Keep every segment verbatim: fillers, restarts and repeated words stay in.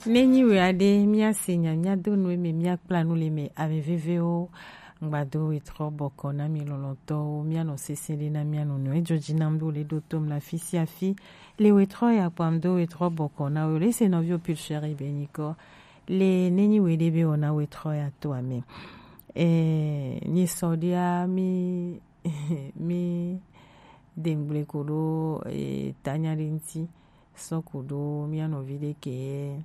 Ne nyi wɛ aɖe, míase nya, míado nu eme, míakpla nu le eme, ame vevewo. Ŋgbado wetrɔ bɔkɔ na mi lɔlɔtɔwo, míanɔ sese ɖe na mía nɔnɔewo. Edzo dzi nam ɖo le ɖo tom le afi sia afi. Le wetrɔ ya kpam do wetrɔ bɔkɔ na wo. Le se nɔviwo pil sheri be nyikɔ. Le ne nyi wɛ ɖe be wɔna wetrɔ ya to ame. Eh, nyi sɔ ɖia mi, mi dengble ko ɖo, eh, tanya ɖe ŋti. Sɔ ku ɖo mía nɔvi ɖe ke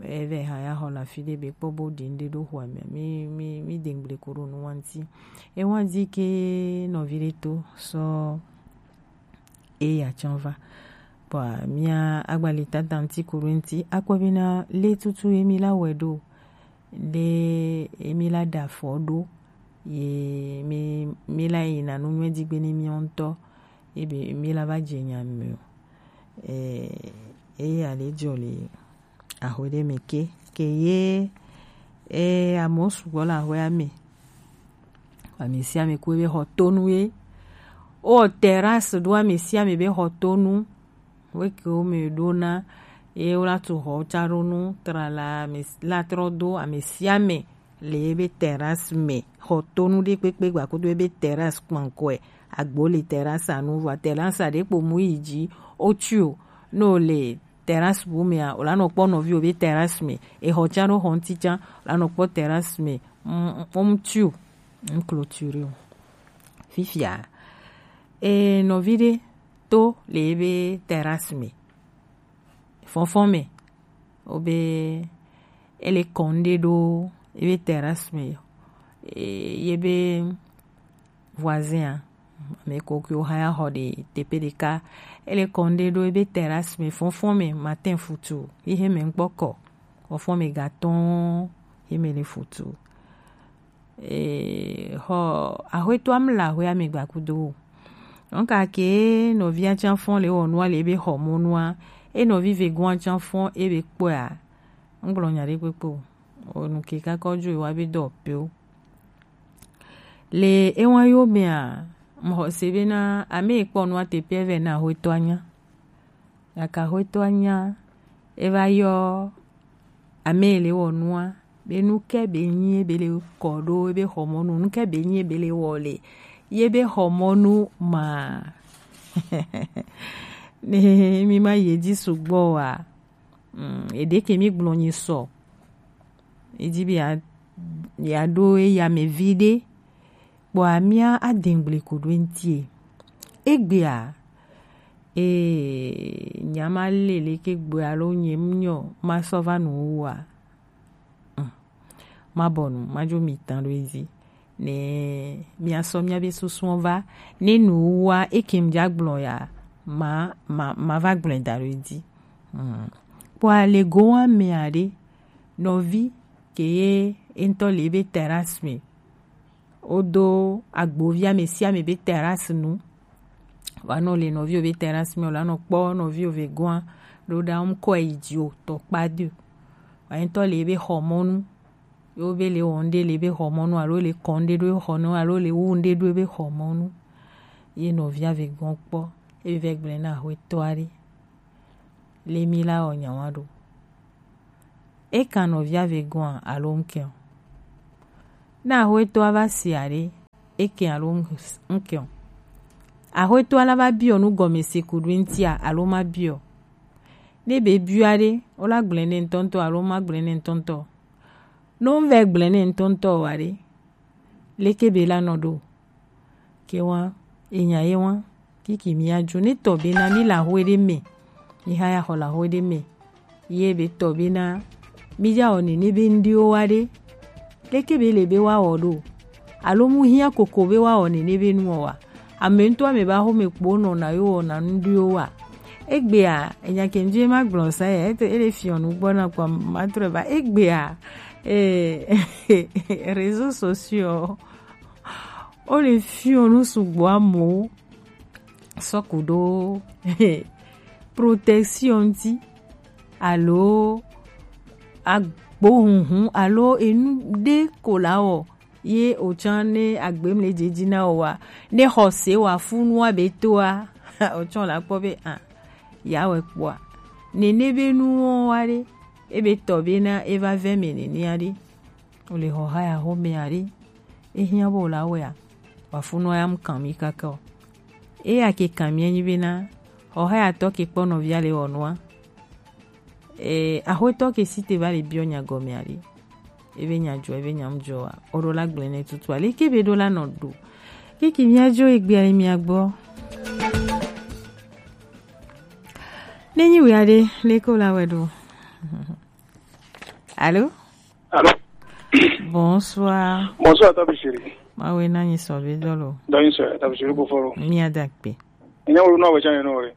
eve hã ya xɔ le afi ɖe be kpɔ bo ɖi ŋɖe ɖo xɔa me. Mi, mi, mi dengble ko ɖo nu wa ŋti. Ewa di ke nɔvi ɖe to sɔ eya tsã va. Kpɔa mía agbali tata ŋti ku ɖo ŋti. Akpɔ be na le tutu ye mi la wɛ ɖo. Ɖe ye mi la ɖe afɔ ɖo. Ye mi, mi la yi na nu nyuie di gbe ne mi ŋutɔ. Ye be mi la va dze nya me o. Eh, eya le dzɔ le axwe ɖe me ke, ke ye, eh, amewo sugbɔ le axwea me. Ame sia ame ku ebe xɔ tonu ye. O terrasse ɖo ame sia ame be xɔ tonu. Weke wo me ɖo na ye wo la tu xɔ tsa ɖo nu trala ame s-, la trɔ do ame sia ame le ebe terrasse me. Xɔ tonu ɖe kpekpe gba kudo ebe terrasse kpankɔe. Agbo le terrasse anu vɔ terrasse aɖe kpo mu yi dzi o tui o. No le terrasse bu mea, o la nɔ kpɔ nɔviwo be terrasse me. Exɔ tsa ɖo xɔ ŋti tsa, o la nɔ kpɔ terrasse me. Mm, mm, mm, tu, mm, clôture o. Fifia, e nɔvi ɖe to le ebe terrasse me. Fɔnfɔn me, o be ele kɔn ɖe ɖo ebe terrasse me. E, ye be voisin a, ame ko ke wo hã ya xɔ ɖe teƒe ɖeka. Ele kɔn ɖe ɖo ebe terrasse me fɔnfɔn me matin futu. Yi he me ŋkpɔ kɔ. Fɔnfɔn me gatɔn he me le futu. E, xɔ axwetɔa mla axwea me gbakudo. Donc ake nɔvia tsa fɔn le wɔ nua le ebe xɔ mɔnua. E nɔvi vegoa tsa fɔn ebe kpɔa. Ŋgblɔ nya ɖe kpekpe o. O nu ke kakɔ dzo wa be dɔ pe o. Le ewa yo mea, mxɔ se be na ame yi kpɔ nua teƒe vɛ na axwetɔa nya. Gake axwetɔa nya, e va yɔ ame yi le wɔ nua, be nu ke be nyi ebe le kɔ ɖo ebe xɔmɔnu, nu ke be nyi ebe le wɔ le ye be xɔmɔnu ma. Ne mi ma ye dzi sugbɔ wa, mm, eɖe ke mi gblɔ nyi sɔ. Edi be ya, ya ɖo eya me vi ɖe. Kpɔa mía adengble ko ɖo eŋtie. Egbea, ee, nya ma le leke gbe alo nye mnyɔ ma sɔ va nu wua. Mm. Ma bɔ nu, ma dzo mi tan ɖo edzi. Ne mía sɔ mía be susuɔ va, ne nu wua eke m dza gblɔ ya, ma, ma, ma va gblɔe da ɖo edzi. Mm. Kpɔa le gowa mea ɖe, nɔvi ke ye eŋutɔ le ebe terrasse me. Wodo agbovi ame sia ame be terrasse nu. Wa nɔ le nɔviwo be terrasse me, wòla nɔ kpɔ nɔviwo ve goa, ɖo ɖa ŋkɔ yi dzi o, tɔ kpa do. Wa ŋutɔ le ebe xɔmɔnu. Yo be le wɔ ŋɖe le ebe xɔmɔnu, alo le kɔ ŋɖe ɖo ebe xɔnu, alo le wu ŋɖe ɖo ebe xɔmɔnu. Ye nɔvia ve goa kpɔ, ebe vɛ gblɔe na axwetɔa ɖe. Le mi la wɔ nyawa ɖo. E kan nɔvia ve goa alo ŋkɛ o. Ne axwetɔa va si aɖe, e kɛ alo ŋkɛ o. Axwetɔa la va biɔ nu gɔme se ku ɖo ŋtia alo ma biɔ. Ne be biɔ aɖe, wo la gblɔe ne ŋutɔŋutɔ alo ma gblɔe ne ŋutɔŋutɔ. Ne wo vɛ gblɔe ne ŋutɔŋutɔ o aɖe, leke be la nɔ ɖo? Ke wa, enya ye wa, kiki mi ya dzo ne tɔ be na mi la hoe ɖe me. Mi ha ya xɔ la hoe ɖe me. Ye be tɔ be na mi ya wɔ nene be ŋɖewo wa ɖe. Leke be le be wa wɔ ɖo? Alo mu hiã koko be wa wɔ nene be nu wɔ wa? Ame ŋutɔ ame ba xome kpo nɔ na yo wɔ na ŋɖewo wa? Egbea, enya ke ŋdzi ma gblɔ sa ya, ete, ele fiɔ nu gbɔ na kpɔ ma trɔ ba. Egbea, eh, réseaux sociaux. Wo le fiɔ nu sugbɔ amewo sɔ ku ɖo protection ŋti alo agbohunhun alo enu ɖe ko la wɔ ye otsã ne agbem le dzedzi na o wa ne xɔse wa fu nua be toa otsã la kpɔ be a ya wɛ kpɔa nene be nuwo wa ɖe ebe tɔ be na eva vɛ mɛ nɛnɛ aɖe. Wole xɔ haya xɔmɛ aɖe. Ehiã bo la wɛa. Wafunɔ ya mu kan mi kaka o. Eya ke kan mi enyi be na xɔ haya tɔ ke kpɔ nɔvia le wɔ nua. Eh, axwetɔ ke si te va le biɔ nya gɔme aɖe. Ebe nya jɔ, ebe nya mu jɔ wa. Oɖo la gblẽ ne tutu ale ke be ɖo la nɔ ɖo. Kiki mia jo egbe ale mia gbɔ. Nenyi wia ɖe, le ko la wɛ ɖo. Allô? Allô? Bonsoir. Bonsoir, Tabi Chéri. Ma we na nyi sɔ be dɔ lo. Dɔ nyi sɔ, Tabi Chéri ko foro. Mi ada kpe. Nya wo no we chane no re.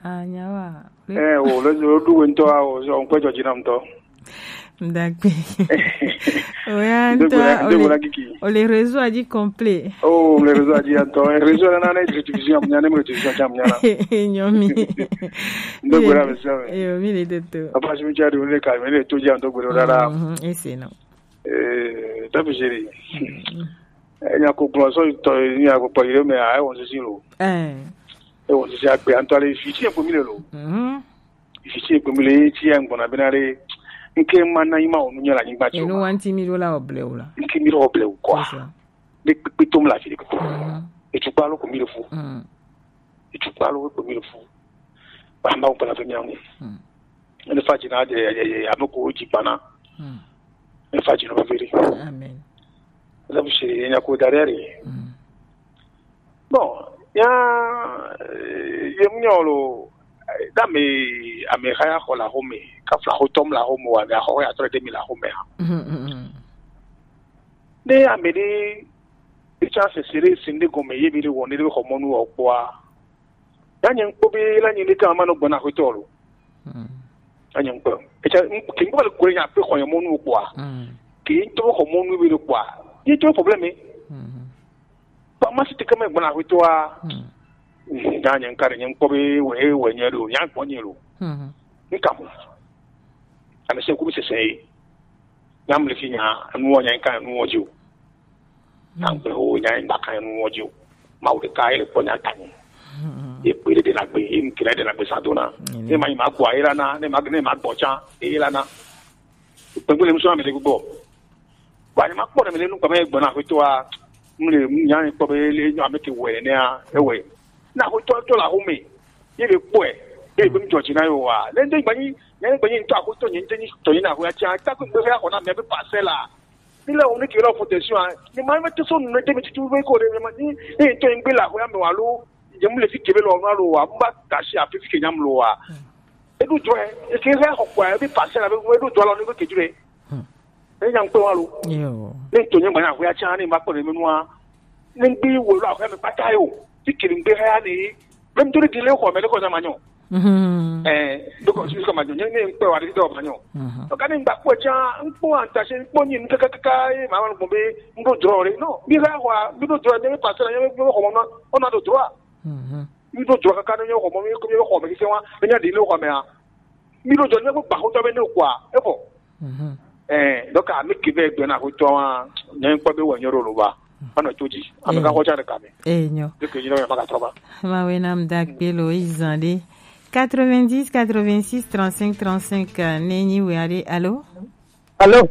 Ah, nyawa. Eh, o le do du we nto a o so npe jo jinam to. Ndakpe. Oya nto o le, o le réseau a dit complet. Oh, le réseau a dit anto. Réseau na na division, nya ne division cham nya na. Nyomi. Ndo gora be so. Yo, mi le de to. Apa si mi cha du le ka, mi le to ja ndo gora la. Mhm, ese no. Eh, Tabi Chéri. Eh, nya ko gblɔ sɔ tɔ nya ko kpɔ yire mɛ a wɔ sisi lo. Eh. E wɔ sisi agbe antɔ le fi ti e ko mi le lo. Mhm. Fi ti e ko mi le ti e ngbɔna bena le. Nke ma na ima onu nya la nyigba ti. Enu o ma. Wanti mi do la oble o la. Nke mi do oble o kwa. C'est ça. De kpekpe tom la fi de kpekpe. Mhm. E tu pa lo ko mi le fu. Mhm. E tu pa lo ko mi le fu. Ba ma o pa la fe nya. Mhm. Ne fa jina de, de, de, ame ko ji bana. Hmm. Ne fa jina ba veri. Amen. Za bu shi nya ko dare re. Hmm. Bon, ya, eh, ye mu nyɔ lo, eh, da me, ame haya ho la home, ka fla ho tom la home wa, me ho ya tore de mi la home ha. Hmm, hmm, hmm. Ne ame de, e cha se sere sinde gome ye bi de wo ne de ho monu o kwa. Ya nye ŋkpɔ be la nye ne ka ma no gbɔna ho to lo. Hmm. Anya ŋkpɔ. Echa ke ŋkpɔ le kore nya pe xɔ nya mɔnu kpɔa. Mm. Ke ŋtɔ xɔ mɔnu be le kpɔa. Ye to problème. Mm. Ba ma si te kama gbɔna ho to a. Mm. Mm, nya nya ŋka nya ŋkpɔ be we we nya do nya gbɔ nya lo. Mm. Ŋka mo. Ame se ku bi sese. Nya mle fi nya anu wo nya ŋka anu wo jo. Tangbe ho nya ŋgba kan nu wo jo. Ma wo de ka ele kpɔ nya tanyi. Ye kpe de na gbe, ye nkira de na gbe sadona. Ne ma ma gbo ayira na, ne ma ne ma gbo cha, e la na. Pe gbe le muso na me le gbo. Ba ni ma kpɔ na me le nu kpɔ me gbo na ko to a. Mle nya ni kpɔ be le nya me ke we ne a, e we. Na ko to to la ho me. Ye be kpɔ e. Ye be mjɔ ji na yo wa. Le nde gba ni, nya ni gba ni to a ko to ni nde ni to ni na ho ya cha. Ta ko gbe ya ko na me be parcelle la. Ni le wo ni ke lo protection a. Ni ma me to so no de me tutu be ko de me ma ni, ni to ngbe la ho ya me wa lo. Je mu le fi ke be lo na lo wa. Mba ta shi a fi ke nyam lo wa. E du jo e, e ke he ho kwa, e bi parcelle a be e du jo lo ni ko ke jure. E nyam pe wa lo. Yo. Ni to nyam ba na ho ya cha ni ma ko de me no a. Ni bi wo lo a ko me pata yo. Ti kiri ngbe ha ni. Même to di le ko me ko na manyo. Mhm. Eh, donc je suis comme manyo, ni pe wa di do manyo. Mhm. Donc ani ngba ko cha, ngpo anta se ngpo ni kaka kaka e ma wa ngbo be ndo draw re. Non, mi ha wa, mi do draw ni pa se na ni ko mo no, on a do droit. Mhm. Mi do draw kaka ni ko mo mi ko mi ko me ki se wa, ni di le ko me a. Mi do draw ni ko pa ko to be ni kwa. E bo. Mhm. Eh, donc ami ke be gbe na ko to wa, ni ko be wa nyoro lo ba. Ana toji. Ami ka ko cha de ka me. Eh, nyo. De ke ni ma ka to ba. Ma we na mda gbe lo izande. Quatre-vingt-dix, quatre-vingt-six, trente-cinq, trente-cinq, euh, nenyi we are. Allô? Allô?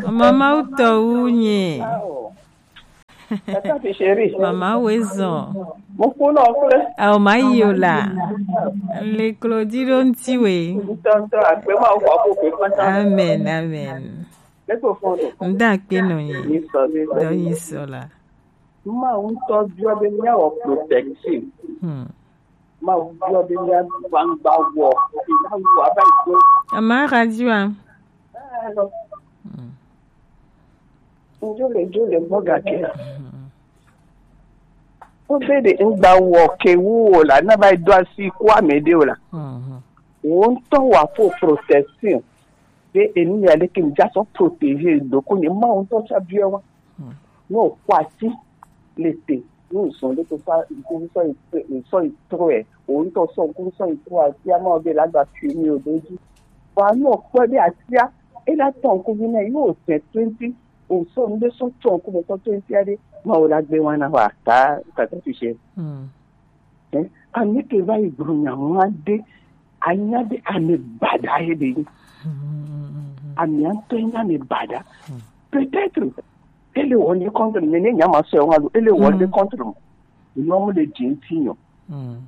Mama uto unye. Tata fi chéri. Mama wezo. Mo ku no kule. Au mayola. Le Claudie don tiwe. Tonto akpe ma o ko ko pe pata. Amen, amen. Le ko fondo. Mda kpe no ye. Ni so, ni so. Do yi so la. Ma un to bio be nya o protection. Hmm. Ma un bio be nya gbangba wo. Ina wo aba ko. Ama radio a. Ah, no. Hmm. Njule, njule, mboga ke. Mhm. Obede ngba wo ke wu o la, na ba do asi kwa me de o la. Mhm. Wo ŋutɔ wa fo protection. Be enu ya le ke ja so protéger do ko ne ma wo ŋutɔ cha bia wa. Mhm. No kwa ti le te. Ni zɔn de ko fa, ko so, so tro e. Wo ŋutɔ so ko so tro a ti a ma o be la gba fi mi o do ji. Wa no kpɔ de atia, e la tɔn ko vi na yo se twenty. O sɔ nu ɖe sɔ tsɔ ŋkume kɔ tso ŋuti aɖe, Mawu la gbe wana wa ta tata fi se. Mm. Eh, ame ke va yi gblɔ nya ŋu aɖe, anya ɖe ame baɖa ye ɖe yi. Ami ŋutɔ nya mi baɖa. Peut-être ele wɔ ne contre, mais ne nya ma sɔ wa lo, ele wɔ ne contre mo. Enu mo le dzi ŋuti nyɔ.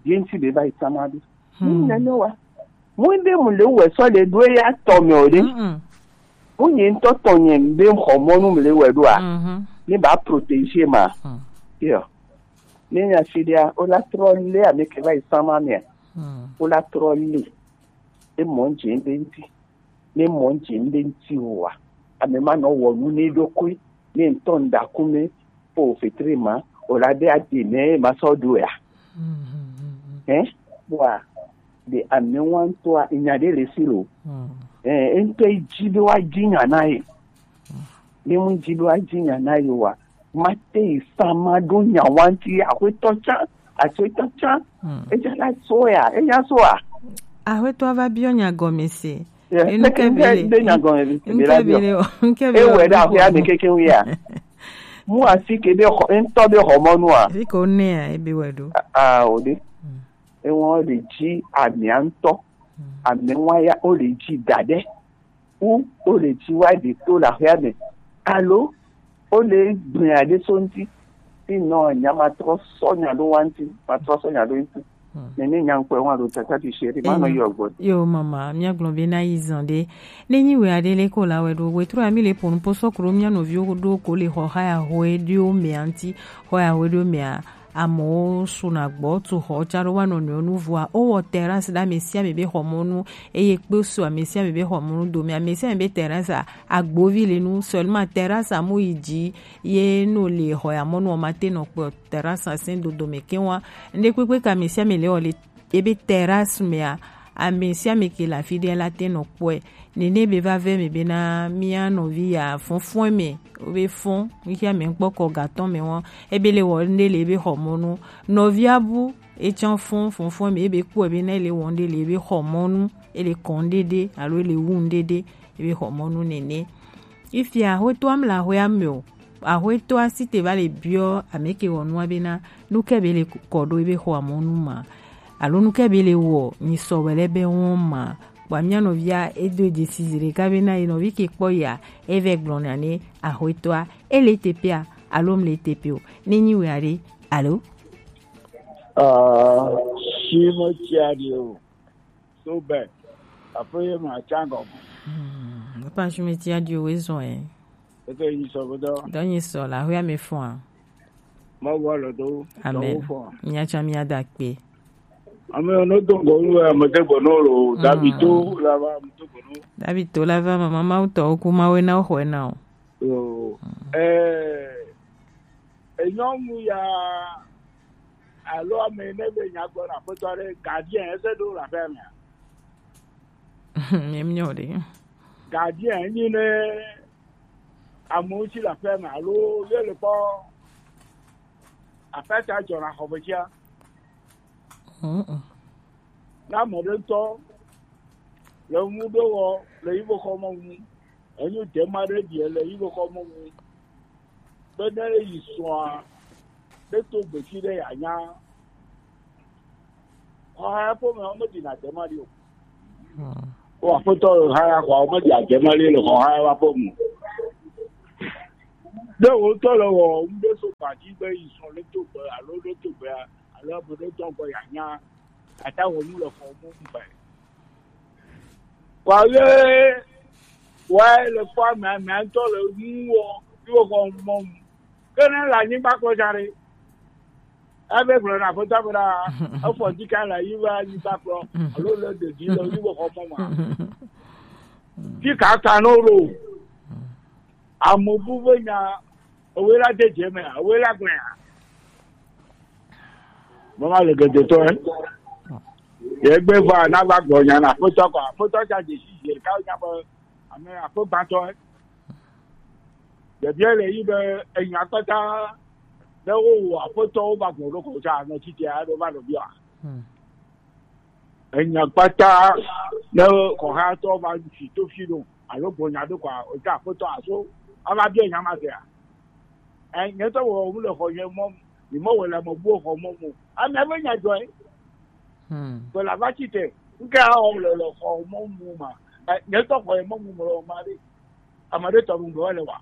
Ye ŋuti be va yi sama ɖo. Mu ne ne wa. Mu de mu le wɛ sɔ le ɖo ya tɔ me o ɖe. Mu nye ŋutɔ tɔ nye be xɔ mɔnu mu le wɛ ɖo a. Ne ba protéger ma. Yo. Ne nya si ɖea, o la trɔ le ame ke va yi sama mea. O la trɔ le. E mɔ dzi be ŋuti. Ne mɔ dzi be ŋuti o wa. Ame ma nɔ wɔ nu ne ɖokui. Ne ŋutɔ ŋda ku me. Po fetri ma. O la de adi ne ma sɔ ɖo ya. Hein? Wa. De ame wa ŋutɔa, nya ɖe le si lo. Hein, ŋutɔ dzi be wa dzi nya na ye. Ne mu dzi be wa dzi nya na ye wa, ma te yi sama ɖo nya wa ŋuti, axwetɔ tsã, axwetɔ tsã. Edza la so ya, enya so a. Axwetɔ va biɔ nya gɔme se. Enu ke be le, be nya gɔme be le, enu ke be le, enu ke be le. Ewɛ ɖe axwea me keke ŋu ya. Mu asi ke be xɔ, ŋutɔ be xɔ mɔnu a. Fi ko ne a, ebe wɛ ɖo. Ah, o ɖe. Ewa o le dzi amia ŋutɔ. Ame wa ya o le dzi da ɖe. Wu o le dzi wa ɖe to le axwea me. Alo o le gblɔe ɖe so ŋuti. Sinon, nya ma trɔ sɔ nya ɖo wa ŋuti. Ma trɔ sɔ nya ɖo ŋuti. Nene nya ŋkpɔe wa ɖo tata ti se ɖe. Ma nɔ yɔ gbɔ. Yo, mama, mia gblɔ be na yi zan ɖe. Ne nyi wɛ aɖe le ko la wɛ ɖo. Wɛ trɔ ami le ponu po sɔ kro mia nɔviwo ɖo ko le xɔ xa ya xɔ eɖiwo mea ŋuti. Xɔ ya xɔ eɖiwo mea. Amewo suna gbɔ tu xɔ tsa ɖo wa nɔnɔewo nu vɔa wowɔ terrasse ɖe ame sia ame be xɔmɔnu eye kpe su ame sia ame be xɔmɔnu dome. Ame sia ame be terrasse a, agbovi le nu, seulement terrasse a mu yi dzi ye no le xɔ ya mɔnu ma te nɔ kpɔ terrasse a se dodo me ke wa. Ŋɖe kpekpe ke ame sia ame le wɔ le ebe terrasse mea, ame sia ame ke le afi ɖe la te nɔ kpɔe. Nene be va vɛ me bena mia nɔvi ya fɔnfɔn me, wobe fɔn, mixia me ŋkpɔ kɔ gatɔ me wɔn, ebe le wɔ ŋɖe le ebe xɔ mɔnu. Nɔvia bu, etsã fɔn, fɔnfɔn me, ebe kpɔe bena ele wɔ ŋɖe le ebe xɔ mɔnu, ele kɔn ŋɖe ɖe, alo ele wu ŋɖe ɖe, ebe xɔ mɔnu nene. Ifia, axwetɔa mla axwea me o. Axwetɔa si te va le biɔ ame ke wɔ nua bena, nu ke be le kɔ ɖo ebe xɔ mɔnu ma. Alo nu ke be le wɔ, mi sɔ wɛ le be wɔn ma. Kpɔ mia nɔvia edo dzesi zi ɖeka be na ye nɔvi ke kpɔ ya, evɛ gblɔ na ne axwetɔa, ele te pea, alo mle te pe o. Ne nyi wɛ aɖe, alo? Ah, si me tsi aɖe o. So bɛ, aƒe ye me atsa gɔme. Hmm, papa si me tsi aɖe o, ezɔ ɛ. Eke yi sɔ be dɔ. Dɔ nyi sɔ la, hu ya me fɔa. Mawu alɔ do. Amen. Miatsa miada kpe. Ame no do ŋgɔ nu ame de gbɔ no lo. David to la va ame do gbɔ no. David to la va mama Mawu tɔ ku Mawu na xɔ na o. Yo. Eh, enyɔnu ya alo ame ne be nya gbɔ na aƒetɔ ɖe gardien ese ɖo la fɛ mea. Mie mnyɔ ɖe. Gardien nyi ne amewo tsi le aƒea me alo ye le kpɔ aƒea ta dzɔna xɔ me tsia. Ne ame ɖe ŋutɔ le nu ɖe wɔ le yi be xɔ me ŋu, enyo dema ɖe ɖi le yi be xɔ me ŋu. Be ne yi srɔ̃a, ne to gbeti ɖe yeanya. Xɔha ya ƒe me, womedina dema ɖi o. Wo aƒetɔ ha ya xɔa, womedi adema ɖi le xɔha ya ƒe me. Ne wò ŋutɔ le wɔ ŋɖe so gbadzi be yi srɔ̃ le to gbe alo le to gbea, alo ame ɖe tɔ gbɔ yeanya, ata wɔ nu le xɔ mɔ ŋu vɛ. Kɔ ye wa le kpɔ ame, ame ŋutɔ le nu wɔ, yi wɔ xɔ mɔ mu. Ke ne le anyigba kplɔ dza ɖe, ebe gblɔ na aƒetɔ be ɖa, efɔ dika le yi be anyigba kplɔ, alo le ɖevi le yi be xɔ mɔ ma. Dika ta no ɖo. Ame bu be nya, ewe la de dze me, ewe la gblẽ a. Mama le gede tɔ, eh. Ye gbe va na va gblɔ nya na aƒetɔ kɔ, aƒetɔ tsa dze si dze ka nya be ame aƒe gbãtɔ, eh. Ɖevia le yi be enya kpata ne wowɔ aƒetɔwo va gblɔ ɖo ko tsa nɔ tsi tia ɖo va nɔ bia. Enya kpata ne kɔhatɔ va fi to fi ɖo alo gbɔ nya ɖo kɔa, o tsa aƒetɔ aso ava bia nya ma sia. Eh, nye tɔ wɔ mu le xɔ nye mɔ, mi mɔ wɔ le ame buɔ xɔ mɔ mu. Ame be nya dzɔe. Hmm. Ke la va tsi te. Nke a wɔ le, le xɔ mɔ mu ma. Nye tɔ xɔ ye mɔ mu mlɔ ma ɖe. Ame ɖe tɔ ɖu ŋgɔ le wa.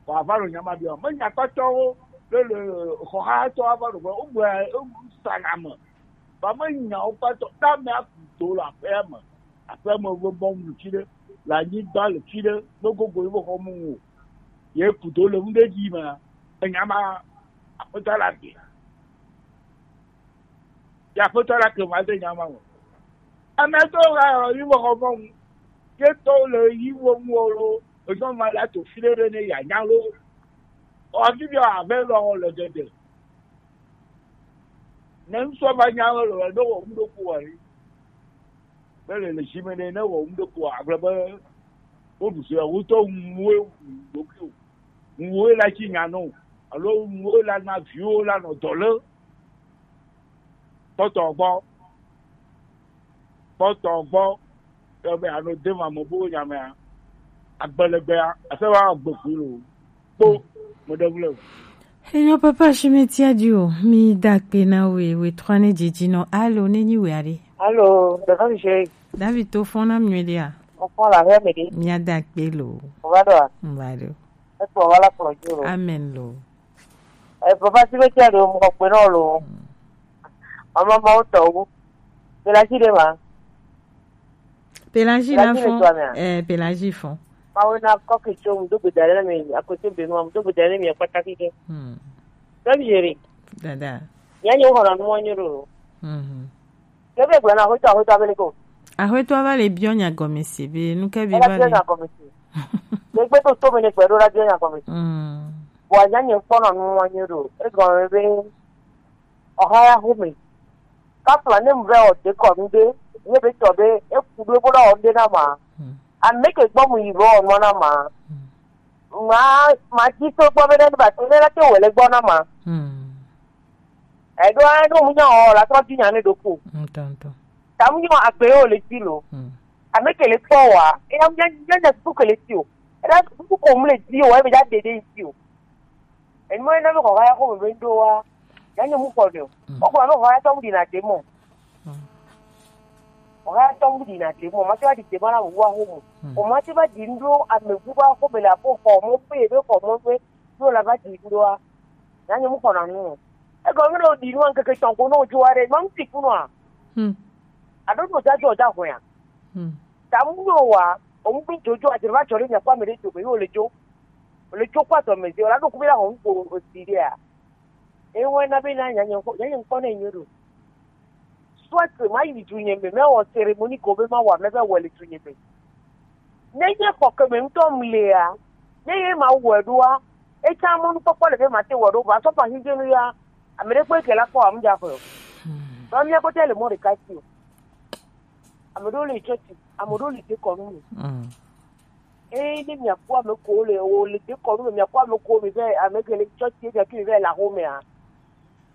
Wa va lo nya ma bia. Me nya kpatɔwo le le xɔ ha tɔ va lo gbɔ. Wo gbɔ sa na me. Ba me nya wo kpatɔ. Ta me aku do la pe me. Aƒeme be mɔnu tsi ɖe le anyigba le tsi ɖe megogo yi be xɔ mu o. Ye kudo le ŋɖe dzi me enya ma aƒetɔ la ke. Ya aƒetɔ la ke ma de nya ma me. Ame tɔ la yi be xɔ mɔnu. Ye tɔ le yi wo mu o lo. Ezɔ ma la to fi ɖe ɖe ne ya nya lo. Ɔ fi bi ave lɔ le dede. Ne ŋsɔ va nya lo le do wo ŋɖo ko wa yi. Be le le si me ne ne wɔ ŋɖe ko agblɔ be woɖu se wotɔ ŋuwo wu ɖokui o, ŋuwo la tsi nya nɔ alo ŋuwo la na viwo la nɔ dɔ le kpɔtɔ gbɔ kpɔtɔ gbɔ yɔ be ano de ma me bo nya mea agbelegbea ase wa gbegbe lo kpo meɖe ŋu le o. Enyo papa Shimeti Adio, mi da kpe na we, we trɔ ne dzidzi nɔ. Alo, ne nyi we aɖe. Alo, ɖeka mi se. David to fɔn na mi ɖe a? Fɔn la hɛ mi ɖe. Mi ada kpe lo. O va ɖo a? Mi va ɖo. Ekpɔ va la kplɔ dzi lo. Amen lo. E papa Shimeti Adio mo kpe nɔ lo. Mama ma o tɔ wo. Bela si de ma. Pelagie na fɔn. Eh, Pelagie fɔn. Mawu na kɔke tso ŋdo gbeda ɖe mi akoto be nua ŋdo gbeda ɖe mi akpata kike. Hmm. Tɔbi yeri. Dada. Ya nyo hɔrɔ nu wanyo ɖo. Mhm. Ke be gblɔ na aƒetɔ aƒetɔ abele ko. Aƒetɔ va le biɔ nya gɔme se be nu ke be va le. Biɔ nya gɔme se. Ke gbe to to me ne gbe ɖo la biɔ nya gɔme se. Hmm. Bɔ anya nye kpɔnɔ nu wanyo ɖo. Egɔme be Ɔha ya xome. Kapla ne mu vɛ wɔ dekɔnu ɖe, ne be tɔ be eku ɖo ebo la wɔ ɖe na ma. Hmm. Ame ke gbɔ mu yi vɔ wɔ nua na ma. Hmm. Ma ma dzi so gbɔ be ne ba to ne la te wɔ le gbɔ na ma. Hmm. Eɖo a ɖo mu nya wɔ la trɔ dzi nya ne ɖo ko. Ŋutɔ, ŋutɔ. Ta mu nya agbe wo le dzi lo. Hmm. Ame ke le kpɔ wa, e ya mu nya nya nya suku ke le dzi o. E la suku ko mu le dzi o, e be ja de de dzi o. Enu ena be xɔha ya xɔ me be ŋɖo wa, ya nye mu xɔ ɖe o. Mm. Xɔ me be xɔha ya tɔ mu ɖi na ɖe mɔ. Mm. Xɔha ya tɔ mu ɖi na ɖe mɔ, ma te va ɖi ɖe ma na wu wa xɔ me. Mm. O ma te va ɖi ŋɖo ame wu va xɔ me le aƒe xɔ mɔ ƒe ebe xɔ mɔ ƒe, ɖo la va ɖi ŋɖo wa, ya nye mu xɔ na nu o. Egɔme ɖe o ɖi nu wa ŋkeke tɔn ko ne o dzo wa ɖe, ma ŋuti ku nua. Mm. Aɖo ɖo da dzo da hɔn ya. Mm. Ta mu nyo wa, o mu bi dzo dzo a, dzre va dzɔ ɖe mia kpɔ ame ɖe dzo me, yo le dzo. Le tso kpɔ adɔme zi o la ɖo ku be la xɔ nuko o si ɖea. Ewɔ na be na nya nye ŋkɔ nya nye ŋkɔ ne nyo ɖo. Soit ma yi du nye me me wɔ cérémonie ko be ma wɔ me be wɔ le du nye me. Ne nye xɔ ke me ŋutɔ mu lea, ne ye ma wɔ ɖoa, etsa mɔnukpɔkpɔ le be ma te wɔ ɖo va sɔ pa hin jenu ya. Ame ɖe kpɔ ke la kpɔ amu dza xɔ. Ba mia ko te le mɔ ɖeka si o. Ame ɖewo le tsɔtsi, ame ɖewo le dekɔnu me. Mm. Eye ne miakpɔ ame ko le o le dekɔnu me, miakpɔ ame ko mi vɛ ame ke le tsɔtsi edzɔ ke mi vɛ le axomea.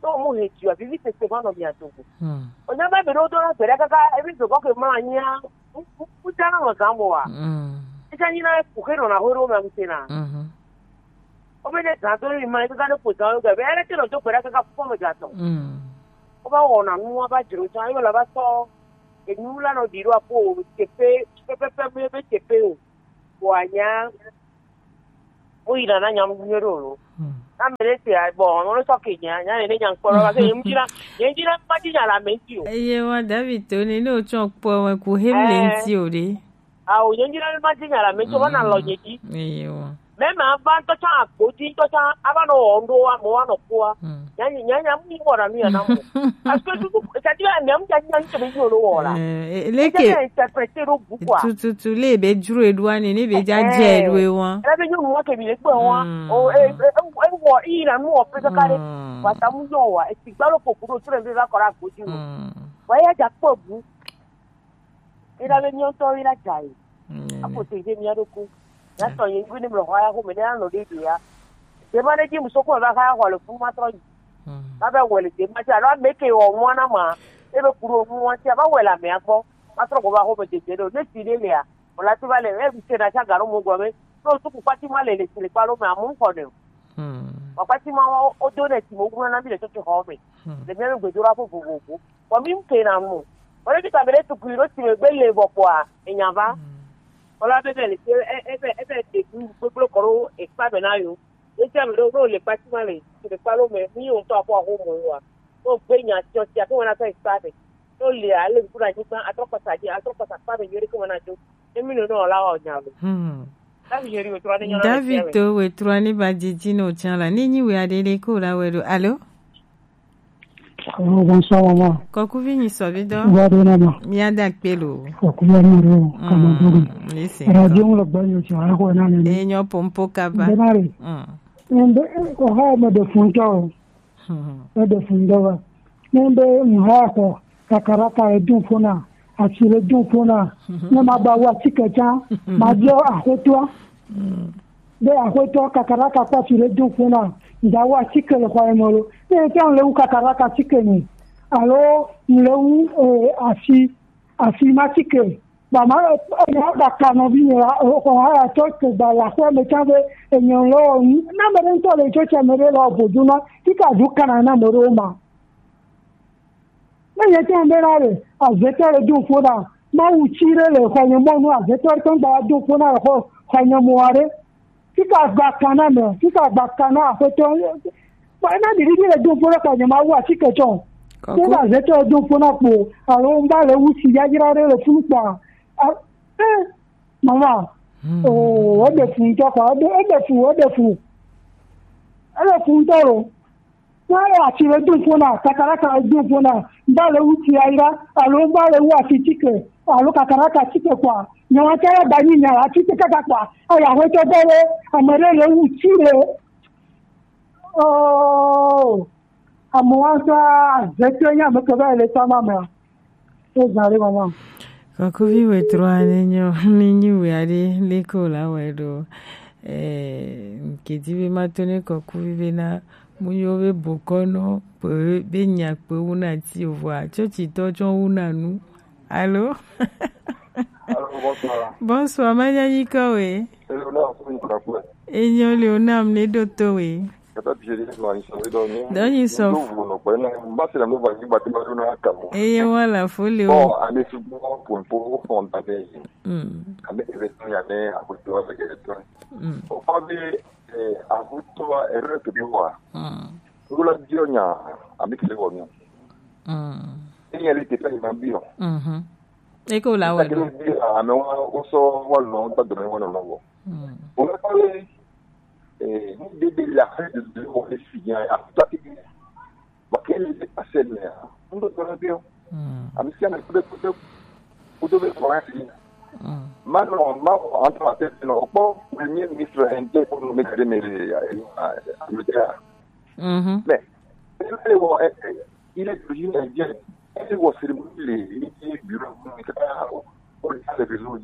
Ne wo mu he tsi o, vivi sese va nɔ mia dome. Hmm. Wònye be ame ɖewo dona gbe ɖa kaka ebi zokɔ ke mlɔ anyia, ŋutsua nɔ zã moa. Hmm. Etsã nyina ku xe nɔna ho ɖewo me ŋuti na. Mhm. Wobe ne zã do mi ma, ebe gane ƒo zã wo ge, be ele te nɔ do gbe ɖa kaka fufɔ me gatɔ. Mm. Wova wɔna nu, wova dzro tsã, ebe la va tɔ enu la nɔ ɖi ɖo aƒo o, teƒe, pɛpɛpɛ be, be teƒe o. Vɔa nya, wo yina na nya nyuie ɖo lo. Mm. Na me ɖe te, a, bon, ame ɖe sɔ ke nya, nya ne nya ŋkpɔ ɖo, va ke ye ŋuti na, ye ŋuti na ma dzi nya le ame ŋuti o. Eye wa David to ne, ne wotsɔ kpɔ me ku hem le ŋuti o ɖe. Awo, nye ŋdi na ma dzi nya la me tso va na lɔ nye dzi. Eye wa. Me ma va ŋutɔ tsã agbo dzi ŋutɔ tsã ava nɔ wɔ ŋɖo wa mo wa nɔ kua. Mm. Nya nya nya mu wɔ na nu ya na mo. Parce que tu tu c'est-à-dire me mu nya nya ŋutɔ be yo lo wɔ la. Eh, eh, leke. Nya interpréter ɖo bu quoi. Tututu le be dzro eɖoa ne ne be dza dze eɖo e wa. Ele be nyɔnu wa ke mi le kpe wa. Mm. O e e e wɔ i na nu wɔ pe kaka ɖe. Mm. Wa ta mu yɔ wa e ti gba lo poku ɖo tu le be va kɔ ɖe agbo dzi lo. Mm. Wa ya dza kpɔ bu. Ena be míawo ŋutɔ ye la dza yi. Mm. Aƒo te ɖe mía ɖokui. Míatɔ ye ŋgbe ne mlɔ xɔ ya xome ne anɔ ɖe ɖe ya. Ɖe ma ɖe dzi musoko va xa xɔ le funu ma trɔ yi. Mm. Ma be wɔ le ɖe ma dzi alo ame ke wɔ nua na ma. Ebe ku ɖo nua dzi ava wɔ le amea gbɔ. Ma trɔ gbɔ va xɔ me dede ɖo. Ne si ɖe lea, wòle ati va le ebi se na tsa ga ɖo mo gɔme. Ne wotu kukpati ma le le si le kpa ɖo me amu ŋkɔ ne o. Mm. Kukpati ma wo do ne si mo gblɔ na mi le tsɔtsɔ xɔ me. Mm. Le mía be gbedoɖaƒe vovovo. Vɔ mi ŋke na mo. Wole kita be ɖe tukui ɖo time gbe le vɔ kpɔa, enya va. Wala be be le ke e e be e be de ku gbegblẽ kɔ ɖo ekpa be na yo. Esi ame ɖewo ɖo le kpa ti ma le, le kpa lo me, mi yo ŋutɔ akɔ aho mo yo wa. Ɖo gbe nya tiɔ ti afi wona fɛ ekpa be. Ɖo le ale ku na nyigba, atrɔ kpasa dzi, atrɔ kpasa kpa be nyuie ɖe ke wona dzo. Emi no no la wa nya lo. Hmm. David Yeri wetrɔ ne nyɔna. David to wetrɔ ne ba dzidzi no tsã la. Ne nyi we aɖe ɖe ko la we ɖo. Alo? Alo, bonsoir, maman. Kɔkuvi nyi sɔvidɔ. Wa de na ma. Mia da kpe lo. Kɔkuvi amaro, kama dogo. Listen. Radio mo lo gba yo cha ko na ne. E nyo pompo kaba. Denare. Mm. Ende ko ha me de funto. Hmm. E de funto wa. Ende mo ha ko kakaraka e dun fona. Ati le dun fona. Ne ma ba wa tike cha. Ma dio a ko to. Mm. Be aƒetɔ kakaraka kpati le do ƒo na ŋdzawo atike le xɔa me lo. Ne ete ŋu le wu kakaraka tike me alo ŋu le wu eh, afi afi ma tike. Ba ma enya da ka nɔvi me la xɔ ha ya tɔ to gba la xɔ me tsa be enye lo nu. Na me ɖe ŋutɔ le tsɔ tsa me ɖe le obodu na tika du kana na me ɖe ma. Ne yete ŋu bena ɖe azetɔ le do ƒo na Mawu tsi ɖe le xɔnye mɔnu azetɔ ɖe tɔn gba do ƒo na le xɔ xɔnye mɔ aɖe. Fika gba kana me, fika gba kana aƒetɔ. Ba ena ɖiɖi le do ƒo na xɔnye Mawu atike tsɔ. Kɔkɔ. Ko na azetɔ do ƒo na kpo alo ŋba le wu si yayra ɖe le funu kpa. A- Eh, mama. Hmm. Oh, ede fu ŋutɔ kpa, ede ede fu, ede fu. Ele fu ŋutɔ lo. Wale ati le dun ƒona, kakaraka le dun ƒona, mba le wu ti ayra, alo mba le wu ati tike, alo kakaraka tike kpa. Nyawa tɛ ba nyi nyawa tike kaka kpa. Aya ho tɛ bɛ le, ame ɖe le wu ti le. Oh, ame wa sa zete nya me ke bɛ le sama me. Ezã ɖe mama. Kɔkuvi wetru ane nyo, ne nyi we aɖe, leke wòle awɔe ɖo? Eh, nke di be mato ne kɔkuvi be na munyo be bokɔnɔ kpe be nya kpe wu na ti o vɔa tsɔtsitɔ tsɔ wu na nu. Alo? Alo, bonsoir. Bonsoir, manya nyi kɔ we. Hello, na ko ni kura kura. Enyo le o nam ne do to we. Kata bie de ma ni so do ni. Do ni so. Do vo no pe na. Mba se na mo ba ni ba ti ma do na ka mo. Eye wala fo le o. Bon, ane su bon pour pour on ta be. Mm. Ane ke be to ya ne a ko to ba ke to. Mm. O pa be eh a ko to a ere ke bi wa. Mm. Ko la bi o nya, a mi ke le wo nya. Mm. E ya le te pe ni ma bi o. Mhm. E ko la wa do. Ame wa o so wa lo ta do me wa no lo. Mm. O la pa le Eh, ni de de la fête de de o le si ya ya ta ti. Ba ke le de passer le ya. Ndo to na bio. Mm. Ami si ana kude kude kude be ko asi. Mm. Ma no ma entre la tête no po premier ministre en de pour nous mettre me ya. Mhm. Mais il est d'origine indienne. Il est au cérémonie les bureaux pour les réseaux.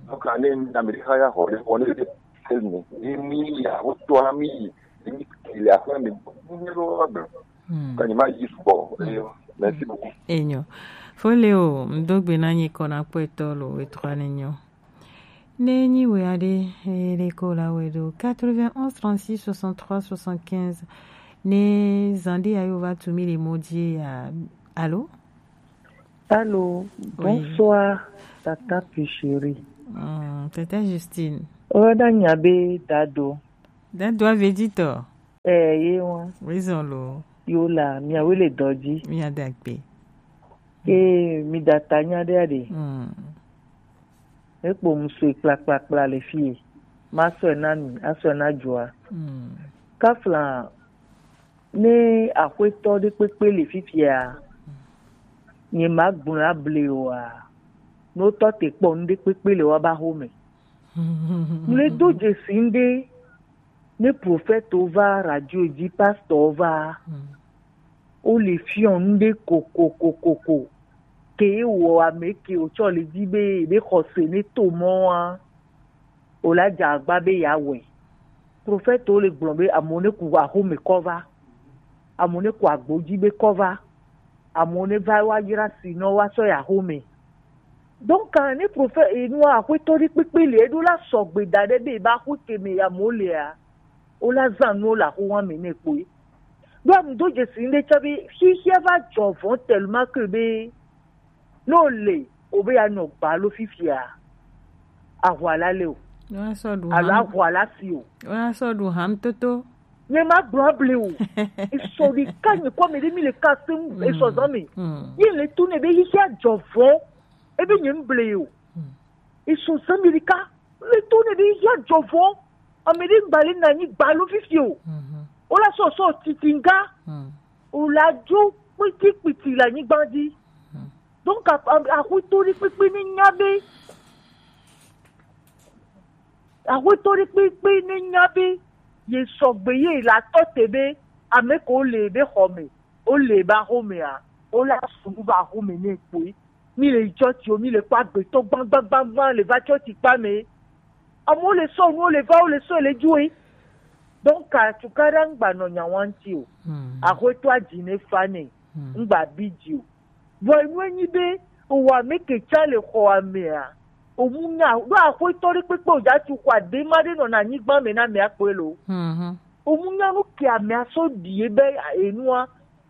Donc, ane na mi ha ya ho le woni de tell me. Ni mi ya wo to na mi. Ni mi ki le afa mi. Ni ro ba. Ka ni ma yi sugbɔ. Merci beaucoup. Enyo. Fo le o, mdogbe na nyi kɔ na kpɔtɔ lo wetru ane nyo. Ne nyi we aɖe, e le ko la we do quatre-vingt-onze trente-six soixante-trois soixante-quinze. Ne zande ayo va tu mi le modi ya. Allô? Allô, oui. Bonsoir, Tata Pichiri. Mm, Tata Justine. Oda nyabe dado. Dado ave dito. Eh, ye wa. Raison lo. Yo la, mi awe le doji. Mi adakpe. Eh, mi data nya de ade. Mm. Ekpo musue kplakplakpla le fie. Ma sɔe na mi, asɔe na joa. Mm. Kafla Ne aƒetɔ ɖe kpekpe le fifia, nye ma gblɔ able oa, ne wotɔ te kpɔ nu ɖe kpekpe le woaba xome. Mle do dzesi ŋɖe, ne profɛtwo va, radio dzi pastɔwo va, wole fiɔ nu ɖe kokokokoko, ke wɔ ame ke wòtsɔ le dzi be yeɖe xɔse ne to mɔa. Wòle adze agba be yeawɔe. Profɛtwo le gblɔ be amewo ne ku axome kɔ va, amewo ne ku agbo dzi be kɔ va, amewo ne va woayra si nɔ woasɔ yi axome. Donc ne profɛt enua aƒetɔ ɖe kpekpe le eɖo la sɔgbe da ɖe be eba axo ke me amewo lea, wola zã nuwo le axowa me nɛ kpoe. Ɖo anu do dzesi ŋɖe tsã be xixia va dzɔ vɔ tellement que be Ne o le, o be ya nɔ gba lo fifia, ahwa la le o. Wa sɔ ɖu Alo ham. Ahwa la si o. Wa sɔ ɖu ham toto. Nye ma gblɔ able o. Esɔ ɖeka nye kɔ me ɖe mi le ka se ŋu, esɔ zan me. Mm. Ye le to ne be xixia dzɔ vɔ. Ebe nye ŋble o. Mm. Esɔ zan me ɖeka. Le to ne be xixia dzɔ vɔ. Ame ɖe ŋgba le na nyi gba lo fifi o. Mhm. O la sɔ sɔ titi ŋga. Mm. O la dzo kpiti kpiti le anyigba dzi. Mm. Donc, a-, a-, axwetɔ ɖe kpekpe ne nya be, axwetɔ ɖe kpekpe ne nya be, ye sɔgbe ye la tɔ te be, ame ko le be xɔ me, o le ba xɔ mea, o la sunu ba xɔ me ne kpoe. Mi le yi tsɔtsi o, mi le kpɔ agbetɔ gbagbagbagba le va tsɔtsi kpa me. Amewo le sɔ nuwo le va, wo le sɔ le dzoe. Donc, atukaɖa ŋgba nɔ nya wa ŋuti o. Hmm. Axwetɔa dzi ne fa nɛ, Hmm. ŋgba bi dzi o. Vɔ enu enyi be, owa me ke tsa le xɔ amea, omu nya, ɖo axwetɔ ɖe kpekpe o dza tu xɔ ade ma ɖe nɔ na anyigba me na mea kpɔe lo. Mhm. Omu nya nu ke amea sɔ ɖi ebe enua,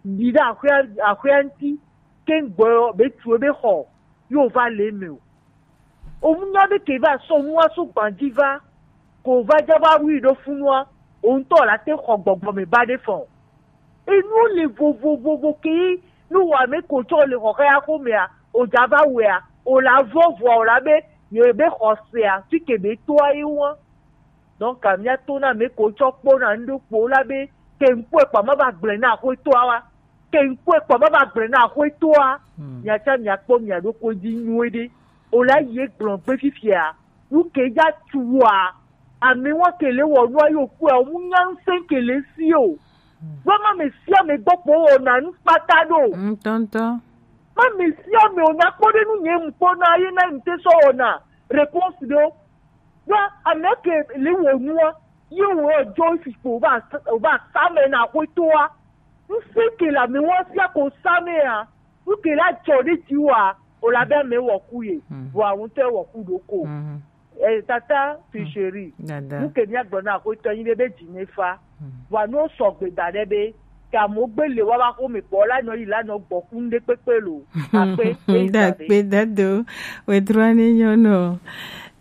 ɖi ɖe axwea, axwea ŋuti, ke ŋgbɔ be tu ebe xɔ, yo va le eme o. Omu nya be ke va sɔ nua so gbanji va, ko va dza va wu yi ɖo funua, o ŋutɔ la te xɔ gbɔgbɔ me ba ɖe fɔ. Enu le vovovovo ke ye nu wa me ko tsɔ le xɔxɛ ya xo mea, o dza va wea, o la vɔ vɔa, o la be, ye be xɔ sea, fi ke be toa ye wa. Donc, mía to na me ko tsɔ kpɔ na ŋɖo kpo la be, ke ŋkpɔ ekpa ma ba gblẽ na axwetɔa wa. Ke ŋkpɔ ekpa ma ba gblẽ na axwetɔa. Hmm. Mía tsã mía kpɔ mía ɖokui dzi nyuie ɖe. O la yi egblɔ gbe fifia. Nu ke dza tu wa. Ame wa ke le wɔ nua yo kpɔa, o mu nya ŋusẽ ke le si o. Hmm. Wa ma me sia me gbɔ kpɔ wɔ na nu kpata ɖo. Ŋutɔŋutɔ. Ma me sia me o nya kpɔ ɖe nu nye mu kpɔ na ye na ŋute sɔ wɔ na réponse ɖo. Ya, ame ke le wɔ nua, ye wɔ dzo fi kpo o ba, o ba sa me na axwetɔa. Nu se ke la me wa sia ko sa me a. Nu ke la dzɔ ɖe dzi wa, o la be ame wɔ ku ye. Hmm. Vɔ awon tɛ wɔ ku ɖo ko. Mhm. Eh, tata, fi Hmm. chéri. Dada. Nu ke mía gblɔ na axwetɔ nyi ɖe be dzi ne fa. Hmm. Vɔ no sɔgbe da ɖe be, ke amewo gbe le wa va xo me kpɔ, la nɔ yi, la nɔ gbɔ ku ŋɖe kpekpe lo. Akpe, e da ɖe. Dakpe dado, wetru ane nyɔnɔ.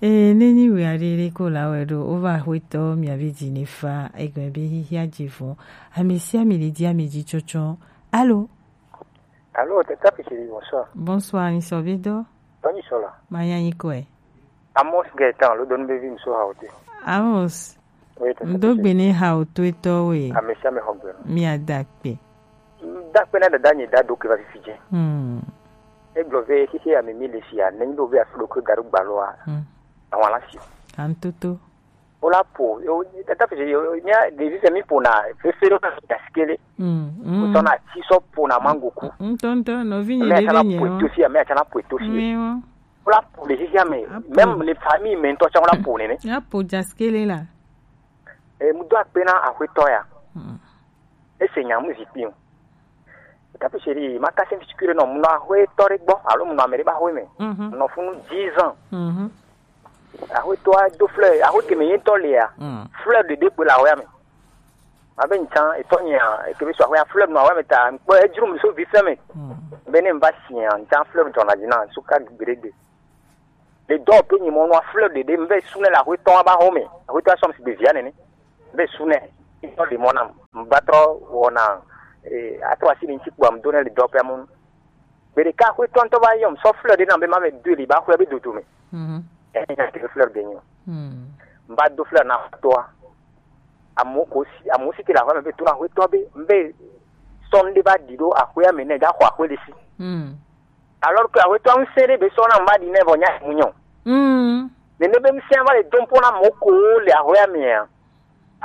E, ne nyi wia ɖe ɖe ko la wɛ ɖo, o va axwetɔ mia be dzi ne fa, egbe be xixia dzi vɔ. Ame sia ame ɖe di ame dzi tsɔtsɔ. Alo? Alo, tata fi chéri, bonsoir. Bonsoir, ni sɔ be dɔ? Tɔnyi sɔ la. Ma nya nyi kɔe. Amos Gaëtan, lo donu be vi mi so ha o te. Amos. Oui, tata fi chéri. Ŋdo gbe ne ha o to etɔ we. Ame sia ame xɔ gbe. Mi ada kpe. Da kpe na dada nye da do ke va fifi dze. Hmm. Egblɔ be xexe ya me mi le fia, nenyi be wobe afi ɖokui ga ɖo gbalɔa, Hmm. Àwọn la fi. Antoto. Wo la po, yo, tata fi yo, mía ɖevi fɛ mi po na fefe ɖo na gasikele. Hmm. Hmm. Wo sɔ na ti sɔ po na mango ku. Ŋutɔŋutɔ, nɔvi nye Mía ɖe tsana be nye po wa. Eto fia, mía tsana po eto fia. Mi wa. Wo la po le xexea me, Apo. Même le famille me ŋutɔ tsã wo la po nene. Ya po gasikele la. E, mu do akpe na axwetɔ ya. Hmm. Ese nya mu zikpui o. Tata fi chéri, ma kasi fi chéri nɔ mu nɔ axwetɔ ɖe gbɔ, alo mu nɔ ame ɖe ba xwe me. Mhm. Nɔ funu dix ans. Mhm. Axwetɔa do fleur, axwe ke me ye ŋutɔ lea, Mm. Fleur ɖeɖe kpoe le axwea me. Ma be ŋtsã, etɔ nyea, eke be so axwea fleur nɔ axwea me ta, ŋkpɔ edzro mi so vi fɛ me. Mm. Be ne ŋva sia, ŋtsã fleur dzɔna dzi na, so ka gbeɖegbe. Le dɔ pe nyi mɔ nua fleur ɖeɖe, ŋve su ne le axwetɔ ba xɔ me. Axwetɔ sɔm si be via nene. Ŋve su ne, etɔ le mɔ nam. Ŋva trɔ wɔna, eh, atrɔ asi le ŋtsi kpɔ, ŋdo ne le dɔ pe amu. Gbe ɖeka axwetɔ ŋutɔ va yɔm sɔ fleur ɖe nam be ma me do li ba xɔe be dodo me. Mhm. Ehe, nya ke fleur ɖe nyo. Mhm. Mba do fleur na axwetɔa. Amewo ko si, amewo si ke le aƒea me be to na axwetɔ be, mbe sɔ ŋɖe va ɖi ɖo axwea me ne dza xɔ axwe le si. Mhm. Alors que axwetɔa ŋusẽ ɖe be sɔ na mba ɖi ne vɔ nya mu nyɔ. Mhm. Nene be ŋusẽa va le dom ƒo na amewo ko le axwea mea.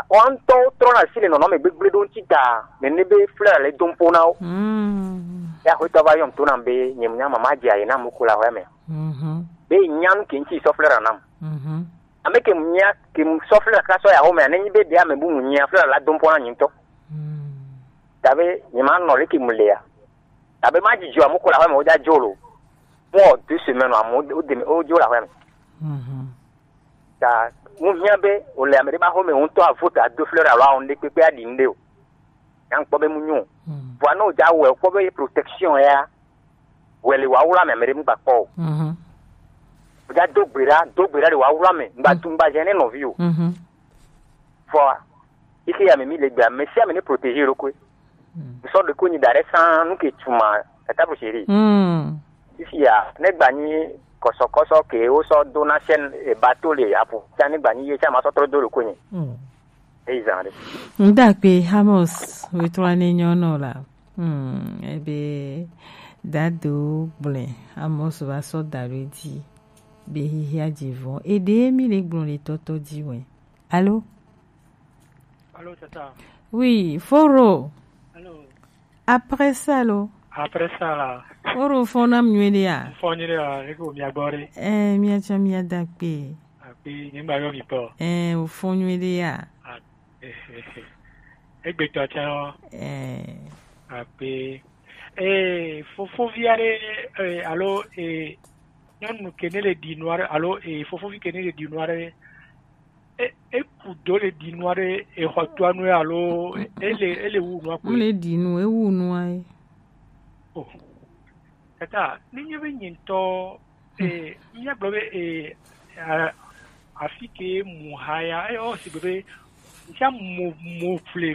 Woawo ŋutɔwo trɔna asi le nɔnɔme gbegblẽ ɖewo ŋuti ta, nene be fleur le dom ƒo na wo. Mm. Ya axwetɔ va yɔm to nam be, nye nya mama dze aye na mo ko le aƒea me. Mhm. Be nya nu ke ŋuti sɔ fleur nam. Mhm. Ame ke nya ke sɔ fleur ka sɔ ya home, ne nyi be ɖe ame bubu nya fleur la dom ƒo na nye ŋutɔ. Mm. Ta be nye ma nɔ le ke mu le ya. Ta be ma dzidzɔ mo ko le aƒea me wo dza dzo lo. Mo deux semaines amewo wo de, wo dzo le aƒea me. Mhm. Ta mu hiã be wòle ame ɖe ƒe aƒe me ŋutɔ avo ta do fleur alo awɔ ŋɖe kpekpe aɖi ŋɖe o. Nya ŋkpɔ be mu nyo. Hmm. Vɔa ne wòdza wɔe, wòkpɔ be ye protection ya, Wele wa wula me, me de mu gba kpɔ o. Mhm. Oja do gbe ɖa, do gbe ɖa le wa wula me. Ngba tu ngba jɛ ne nɔvi o. Mhm. Vɔ, ike ya me mi le gba, me sia me ne protéger lo kwe. Mm. So de ko ni dare san nu ke tuma, tata bu chéri. Mm. Ici ya, ne gba ni kɔsɔ kɔsɔ ke o so do na chaîne e bateau le apo. Tia ne gba ni ye tia ma so tro do lo ko ni. Mm. Eyi zan ɖe. Ŋda kpe Amos wetrɔ ne nyɔnɔ la. Hmm, ebe dado gblẽ Amos va sɔ da ɖo edzi be xexea dzi vɔ. Eɖe mi le gblɔ le tɔtɔ dzi wɛ. Alo? Alo, tata. Oui, Foro. Alo. Après ça, lo. Après ça, la. Foro, fɔ na mnyueɖe ya. Fɔ nyueɖe ya, eko mia gbɔ ɖe. Eh, mia tsɔ mia da kpe. Akpe, nyemgba yɔ mi kpɔ. Ɛɛ, wòfɔ nyuie ɖe ya. A-, egbetɔ tsɛ lɔ. Ɛɛ. Akpe. Ee, fofovi aɖe, ee, alo, ee, nyɔnu ke ne le ɖi nu aɖe, alo, ee, fofovi ke ne le ɖi nu aɖe, e, eku do le ɖi nu aɖe, exɔ toa nu alo ele, ele wu nua kpe? Mu le ɖi nu, ewu nua ye. Oh. Tata, ne nye be nye ŋutɔ, eh, míagblɔ be, eh, a-, afi ke mu ha ya, eh, o sigbe be, ŋutsa mo, mo ƒle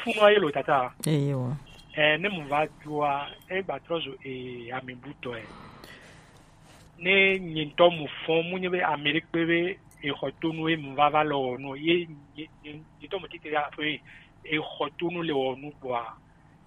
funua ye lo tata. Eye wa. Eh, ne mu va dua, e gba trɔ zu, eh, ame butɔ, eh. Ne nye ŋutɔ mu fɔn, mu nye be ame ɖe kpe be, exɔ tonu ye mu va va le wɔ nu, ye, ye, ye, ye tɔ mu tite ya, eh, exɔ tonu le wɔ nu kpɔa,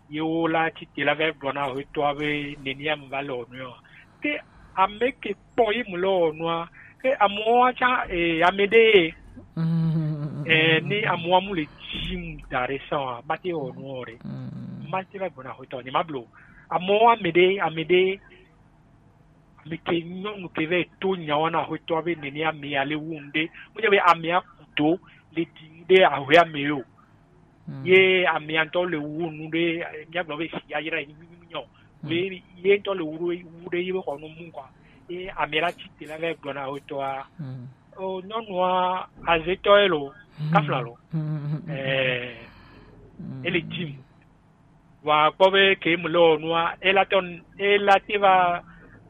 ye wo la tite la va gblɔ na hwetɔa be nenia mu va le wɔ nua. Ke ame ke kpɔ ye mu le wɔ nua, ke amewo wa tsã, eh, ame ɖe ye. Mm. Eh, ni amewo mu le dzi mu da ɖe sã wa, mate wɔ nua o ɖe. Mm. Mate va gblɔ na hwetɔ, nye ma blo. Amewo ame ɖe, ame ɖe, ame ke nyɔnu ke va to nya wa na hwetɔa be nenia ame ya le wu ŋɖe. Mu nye be amea ku do le ɖi ŋɖe ahwea me o. Mm. Ye amea ŋutɔ le wu nu ɖe, míagblɔ be si yayra yi nyunyɔ. Mm. Ye, ye ŋutɔ le wu ɖe, wu ɖe ye be xɔ nu mu kɔa. Ye amea la tite la va gblɔ na hwetɔa. Mm. O nyɔnua azetɔ ye lo, mm, kafla lo. Mm. Eh, mm, ele dzi mu. Vɔa kpɔ be ke mu le wɔ nua, ela tɔ, ela te va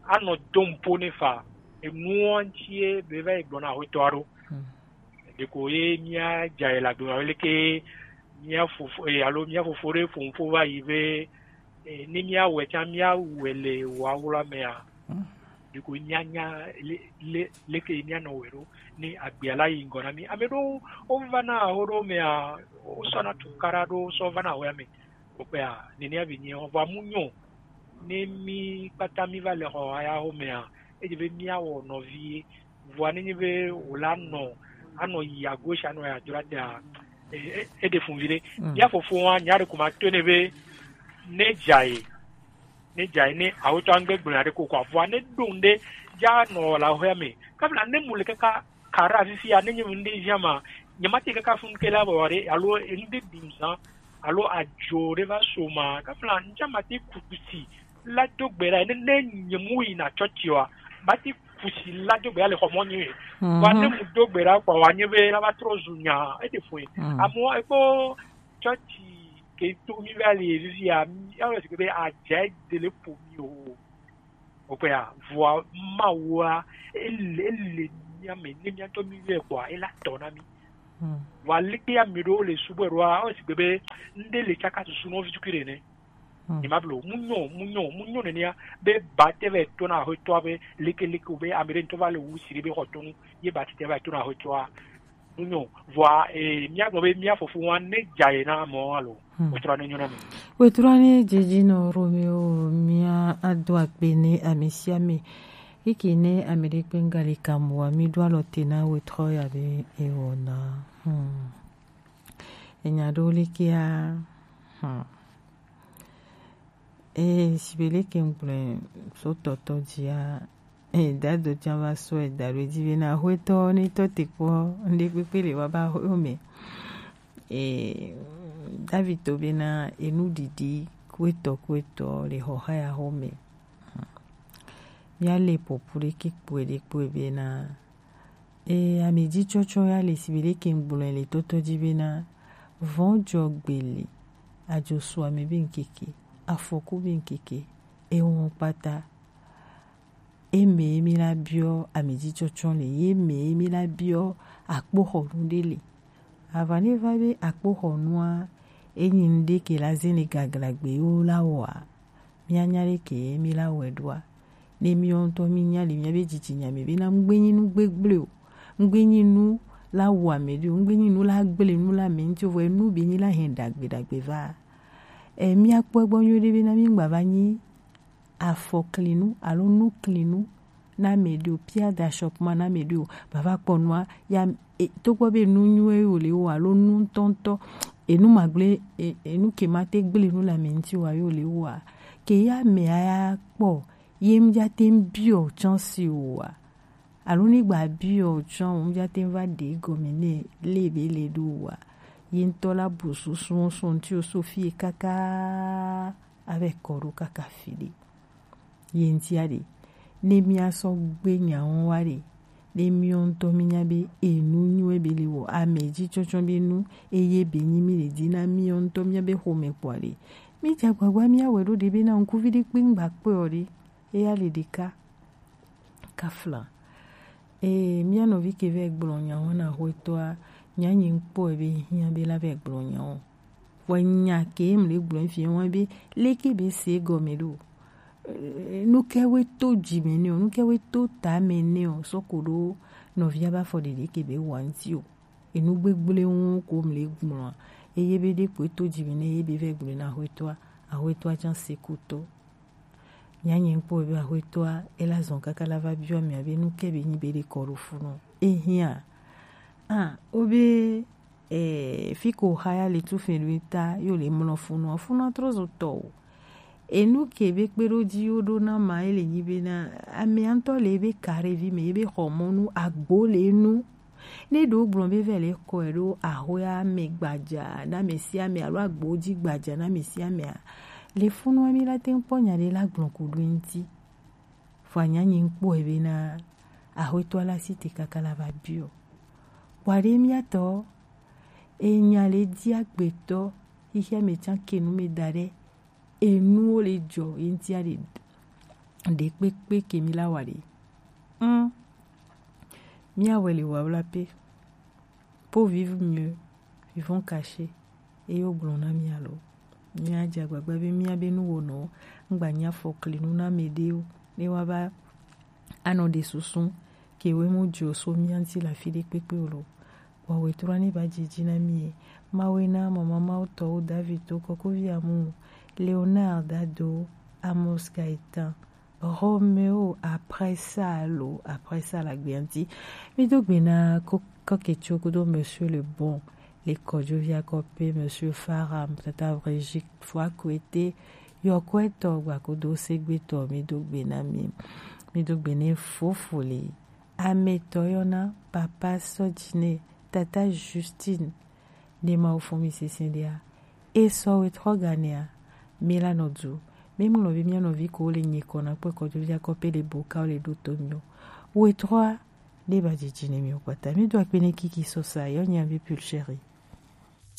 anɔ dom po ne fa. Enuɔ ŋuti ye be va yi gblɔ na hwetɔa ɖo. Mm. Ɖeko ye mía dza yi le agbe me leke mía fofo, eh, alo mía fofo ɖe ƒo nuƒo va yi be, eh, ne mía wɔe tsã, mía wɔe le wɔ awla mea. Mm. Ɖeko mía nya le, le, leke mía nɔ wɔe ɖo ne agbea la yi ŋgɔ na mí. Ame ɖewo wova na aho ɖewo mea, wosɔ na tukaɖa ɖewo sɔ va na ahoa me. Wokpea, nenia be nyi vɔa mu nyo. Ne mí kpata mí va le xɔ ya xɔ mea, edze be mía wɔ nɔvi ye. Vɔa ne nyi be wòla nɔ, anɔ yi à gauche, anɔ yi à droite a, e, e, e ɖe fun vi ɖe. Mm. Mía fofoa, nya ɖe ko ma to ne be, ne dza ye, ne dza ye, ne awotɔ angbe gblɔ nya ɖe ko kɔ, vɔa ne ɖo ŋɖe, dza nɔ la hoya me. Kabla ne mu le kaka kara fifia, ne nye ŋɖe zia ma, nyemate kaka fun ke la bɔ ɖe, alo ŋɖe ɖum zã, alo adzo ɖe va so ma, kafla ŋtsa mate kuku si la do gbe ɖa, ne, ne nye mu yina tsɔtsi wa, mate kuku si la do gbe ɖa le xɔ mɔ nyi. Mhm. Wa ne mu do gbe ɖa kpɔ wa nye be la va trɔ zu nya, ete fue. Mhm. Amewo ekpɔ tsɔtsi ke to mi va le fifia, mi, alo si be adze de le po mi o. Okpea, vɔa Mawua, ele, ele mía me, ne mía ŋutɔ mí yɔe kpɔa, ela tɔ na mí. Hmm. Vɔa leke ame ɖewo le subɔe ɖoa, o sigbe be, ŋɖe le tsaka susu nɔ vi tukui ɖe ne. Hmm. Ni ma blo, mu nyɔ, mu nyɔ, mu nyɔ nenea, be ba te va to na hotɔa be, leke, leke o be, ame ɖe ŋutɔ va le wu si ɖe be xɔ tonu, ye ba te va to na hotɔa. Nunyo, vɔa, eh, míagblɔ be mía fofowa ne dza ye na mɔ alo. Hmm. Wetrɔ ne nyo na mi. Wetrɔ ne dzedzi nɔ Romeo, mía ado akpe ne ame sia ame. Eke ne ame ɖe kpe ŋgali kamoa, mi ɖo alɔ te na wetrɔ ya be ewɔ na. Hmm. Enya ɖo lekea. Hmm. Ee, sigbe leke ŋgblɔe so tɔtɔ dzia, ee, dado tsã va sɔe da ɖo edzi bena, Aƒetɔ, ne tɔ te kpɔ, ŋɖe kpekpe le woaba aƒewo me. Ee, David to bena, enuɖiɖi kuetɔ kuetɔ le xɔxa ya xɔ me. Míale popu ɖeke kpɔe ɖe kpɔe bena, Ee, ame dzi tsɔtsɔ ya le sigbe leke ŋgblɔe le tɔtɔ dzi bena, vɔ̃ dzɔ gbe le, adzo su ame be ŋkeke, afɔku be ŋkeke, Ewɔn kpata. Eme mi la biɔ amejitsɔtsɔ le, ye me mi la biɔ akpoxɔnu ɖe le. Ava ne va be akpoxɔnua, enyi nu ɖe ke la ze ne gaglagbe yo la wɔa, mianya ɖe ke mi la wɔe ɖoa. Ne miwo ŋutɔ mi nya le miabe dzitsinya me be na ŋgbe nyi nu gbegble o, ŋgbe nyi nu la wɔ ame ɖe o, ŋgbe nyi nu la gble nu la me ŋuti o, vɔ enu be nyi la hɛn ɖagbe ɖagbe va. E, miakpɔ egbɔ nyuie ɖe be na mi ŋgba va nyi afɔklinu alo nuklinu na ame ɖe o, pierre d'achoppement na ame ɖe o, bava kpɔ nua ya, e, togbɔ be nu nyuie wo le wo alo nu ŋutɔŋutɔ, enu magble, e, enu ke ma te gble nu le ame ŋuti wa yo le woa, ke ya ame ya kpɔ, ye ŋdza te ŋ biɔ chance o wa. Alo ne gba biɔ chance o, ŋdza te ŋ va ɖe gɔme nɛ le be le ɖo wa. Ye ŋutɔ la bu susu sɔn ŋuti o so fie kaka ave kɔ ɖo kaka fi ɖe. Ye ŋutia ɖe, ne mia sɔ gbe nya wo wa ɖe, ne miwo ŋutɔ mi nya be enu nyuie be le wɔ, ame ji tsɔtsɔ be nu, eye be nyi mi le di na miwo ŋutɔ mia be xome kpɔa ɖe, mi dza gbagba mia wɛ ɖo ɖe be na ŋkuvi ɖe kpe ŋgba kpe o ɖe, eya le ɖeka. Kafla. Ee, mia nɔvi ke vɛ gblɔ nya wo na axwetɔa, nya nyi ŋkpɔ be hiã be la vɛ gblɔ nya wo. Vɔ nya ke mle gblɔ fi wa be leke be se gɔme ɖo. Eh, nu ke we to dzi me nɛ o, nu ke we to ta me nɛ o, sɔ ko ɖo nɔvia ba fɔ ɖeɖe ke be wa ŋuti o. Enu gbegble ŋu ko mle gblɔ. Eye be ɖe ko to dzi me nɛ, eye be vɛ gblɔ na axwetɔa, axwetɔa tsã se kutɔ. Nya nyi ŋkpɔ be axwetɔa, ela zɔn kaka la va biɔ mia be nu ke be nyi be ɖe kɔ ɖo funu. Ehiã. Ah, o be, eh, fi ko xa ya le tu fɛn ɖo ta, yo le mlɔ funu, funu trɔ zo tɔ o. Enu ke be kpe ɖo dzi yo ɖo na ma, ele nyi be na, ame ŋutɔ le be karevi me, ebe xɔ mɔnu, agbo le nu. Ne ɖo gblɔ be vɛ le kɔe ɖo axwea me gbadza na ame sia ame alo agbo dzi gbadza na ame sia amea, le funu mi la te ŋ kpɔ nya ɖe la gblɔ ku ɖo ŋuti. Vɔ anya nyi ŋkpɔe be na axwetɔ la si te kaka la va biɔ. Kpɔ ɖe mia tɔ, enya le di agbetɔ xixia me tsã ke nu me da ɖe, enuwo le dzɔ ye ŋuti aɖe ɖe kpekpe ke mi la wa ɖe. Hum. Mia wɛ le wa wla pe. Pour vivre mieux, vivons cachés. Eye wogblɔ na mí alo míadze agbagba be míabe nuwɔnɔwo ŋgba nya fɔklinu na ame ɖewo, ne woava anɔ ɖe susu ke woemu dzo so mía ŋuti le afi ɖe kpekpe o lo. Vɔ wetrɔ ne va dzidzi na mí ye. Mawu na mama Mawu tɔwo David to kɔkɔvi amu Leonard Dado Amos Gaëtan Romeo après ça lo, après ça la gbe ŋuti. Mi do gbe na ko kɔketso kodo Monsieur le Bon, le kɔdzo via kɔpe, Monsieur Faram, Tata Brigitte Foakwete, yɔkwɛtɔ gba kodo segbetɔ, mi do gbe na mi. Mi do gbe ne fofo le. Ametɔ yɔna Papa Sɔdjine, Tata Justine, ne Mawu fɔn mi sese ɖea, e sɔ wetrɔ ganea, mi la nɔ du, mi ŋlɔ be mía nɔvi ko le nye kɔ na kpɔ kɔdzo via kɔpe le bo ka le ɖo to mi o. Wetrɔa, ne ba dzidzi ne mi o kpata. Mi do akpe ne kiki sɔ sa, yɔ nya be pulchérie.